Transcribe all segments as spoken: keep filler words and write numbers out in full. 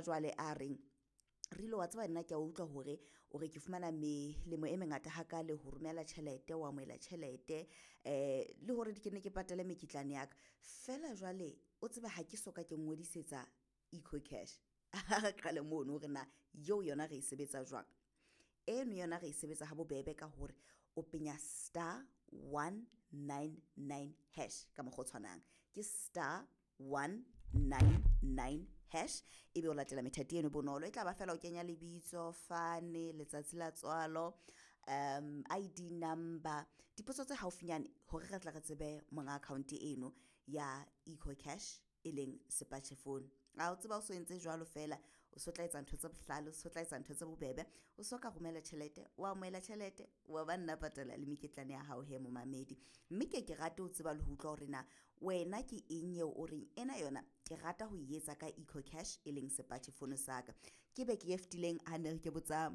jwale a reng Rilo wa tseba nna ke a utlwa hore o re ke fumana melemo e mengata hakale ho romela tjhelete o amohela tjhelete eh le hore ke ne ke patale mekitlane ya ka fela jwale o tsebe ha ke soka ke ngodisetsa EcoCash. Ha re qale mono hore na eo yona re e sebetsa jwang. Eno yona re e sebetsa ha bobebe ka hore o penya star one nine nine hash ka mokgwa o tshwanang ke star one nine nine hash ebe o latela methati eno bonolo e tla ba fela o kenya lebitso fane letsatsi la tswalo um I D number dipotso tse haufinyane hore re tle re tsebe monga account eno ya EcoCash e leng sepatjhe phone. A o tseba o so entse jwalo fela o so tla etsa ntho tse bohlale o so tla etsa ntho tse bobebe o so ka romela tjhelete wa amohela tjhelete wa ba nna patala le mekitlane ya hao he momamedi. Mme ke ke rate ho tseba le ho utlwa hore na wena ke eng eo o reng ena yona ke rata ho e etsa ka EcoCash e leng sepatjhe phone sa ka. Ke beke e fetileng ha ne re ke botsa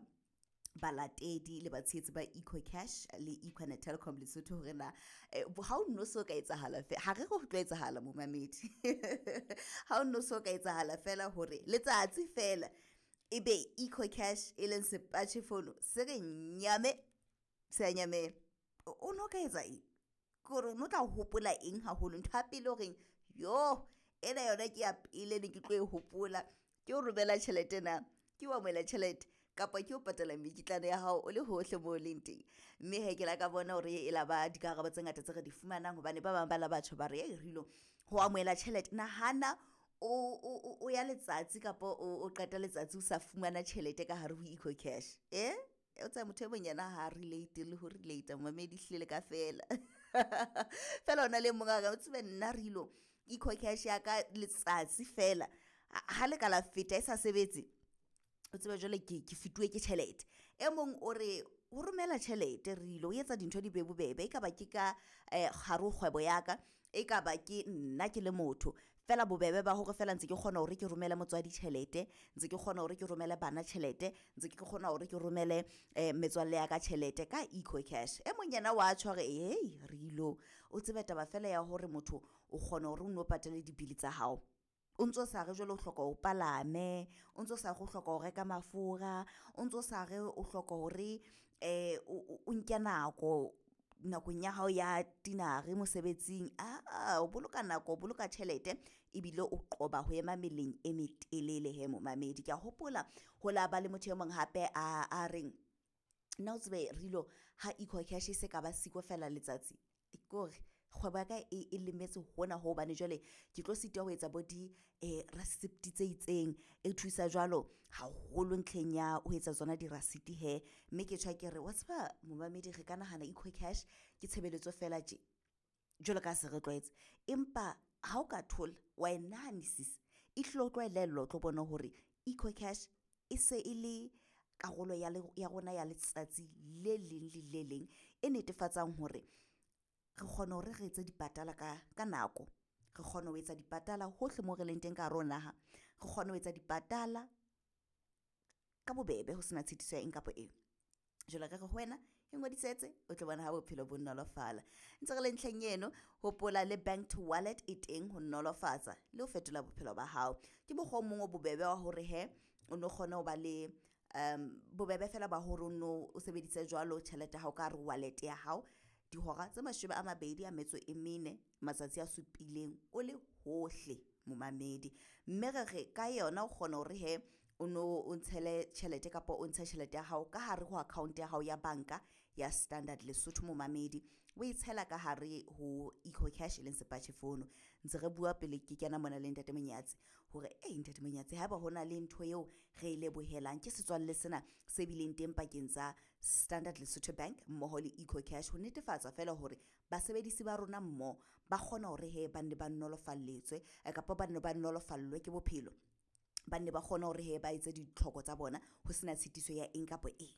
balatedi le batshehetsi ba EcoCash le Econet Telkom Lesotho hore na ha o no so ka etsahala ha re re ho tlo etsahala momamedi ha o no so ka etsahala fela hore letsatsi fela ebe EcoCash e leng sepatjhe phone se re nyame se a nyamela o no ka etsa eng ke hore o no tla hopola eng haholo ntho ya pele horeng yo ena yona ke ya pele ne ke tlo e hopola ke o romela tjhelete na ke o amohela tjhelete kapa ke o patala mekitlane ya hao o le hohle moo o leng teng. Mme he ke la ka bona hore e la ba dikarabo tse ngata tse re di fumanang hobane ba bang ba la batjha ba re ei Rilo ho amohela tjhelete nahana o o ya letsatsi kapa o qeta letsatsi o sa fumana tjhelete ka hare ho EcoCash eh o tsaya motho e mong yena ha relate le ho relate momamedi hlile ka fela fela ona le mong a re o tsebe nna Rilo EcoCash ya ka letsatsi fela ha le ka la feta e sa sebetse o tsebe jwale ke ke fetuwe ke tjhelete. E mong o re ho romela tjhelete Rilo o etsa dintho di be bobebe e kaba ke ka eh hare ho kgwebo ya ka e kaba ke nna ke le motho fela bobebe ba hore fela ntse ke kgona hore ke romele motswadi tjhelete ntse ke kgona hore ke romele bana tjhelete ntse ke kgona hore ke romele eh metswalle ya ka tjhelete ka EcoCash. E mong yena wa tjho hore hey Rilo o tsebe taba fela ya hore motho o kgona hore o nno patale dibili tsa hao o ntso sa re jwale o hloka o palame o ntso sa re o hloka ho reka mafura o ntso sa re o hloka hore eh o nke nako nakong ya hao ya tinare mosebetsing a o boloka nako o boloka tjhelete ebile o qoba ho ema meleng e metelele he momamedi. Ke a hopola ho la ba le motho e mong hape a a reng nna o tsebe Rilo ha EcoCash e se ka ba siko fela letsatsi ke hore kgwebo ya ka e e lemetse hona ho hobane jwale ke tlo sitwa ho etsa bo di eh receipt tse itseng e thusa jwalo haholo ntlheng ya ho etsa tsona di-receipt he. Mme ke tjho ke re wa tseba momamedi re ka nahana EcoCash ke tshebeletso fela tje jwalo ka se re tlwaetse empa ha o ka thola wa e nahanisisa e hlile o tlo elellwa o tlo bona hore EcoCash e se e le karolo ya ya rona ya letsatsi le leng le le leng e netefatsang hore re kgona hore re etse dipatala ka ka nako re kgona ho etsa dipatala hohle moo re leng teng ka hare ho naha re kgona ho etsa dipatala ka bobebe ho sena tshitiso ya eng kapa eng. Jwale re re ho wena e ngodisetse o tlo bona ha bophelo bo nolofala ntse re le ntlheng eno hopola le bank to wallet e teng ho nolofatsa le ho fetola bophelo ba hao. Ke mokgwa o mong o bobebe wa hore he o no kgone ho ba le um bobebe fela ba hore o no o sebedise jwalo tjhelete ya hao ka hare ho wallet ya hao dihora tse mashome a mabedi a metso e mene matsatsi a supileng o le hohle momamedi. Mme re re ka yona o kgona hore he o no o ntshele tjhelete kapa o ntshe tjhelete ya hao ka hare ho account ya hao ya banka ya Standard Lesotho momamedi o e tshela ka hare ho EcoCash e leng sepatjhe fono. Ntse re bua pele ke kena mona le ntate Monyatsi hore ei ntate Monyatsi haeba hona le ntho eo re e lebohelang ke setswalle sena se bileng teng pakeng tsa Standard Lesotho Bank mmoho le EcoCash ho netefatsa fela hore basebedisi ba rona mmoho ba kgona hore he ba nne ba nolofalletswe kapa ba nne ba nolofallwe ke bophelo ba nne ba kgone hore he ba etse ditlhoko tsa bona ho sena tshitiso ya eng kapa eng.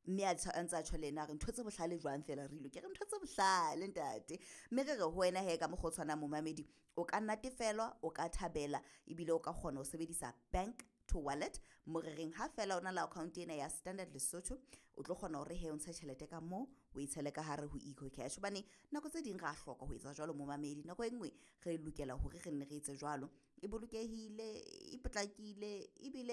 Mme a ntse a tjho le yena a re ntho tse bohlale jwang fela Rilo ke re ntho tse bohlale ntate. Mme re re ho wena he ka mokgwa o tshwanang momamedi o ka natefelwa o ka thabela ebile o ka kgona ho sebedisa bank to wallet mo re reng ha fela o na le account ena ya Standard Lesotho o tlo kgona hore he o ntshe tjhelete ka moo o e tshele ka hare ho EcoCash hobane nako tse ding ra hloka ho etsa jwalo momamedi nako e nngwe re lokela hore re nne re etse jwalo e bolokehile e potlakile ebile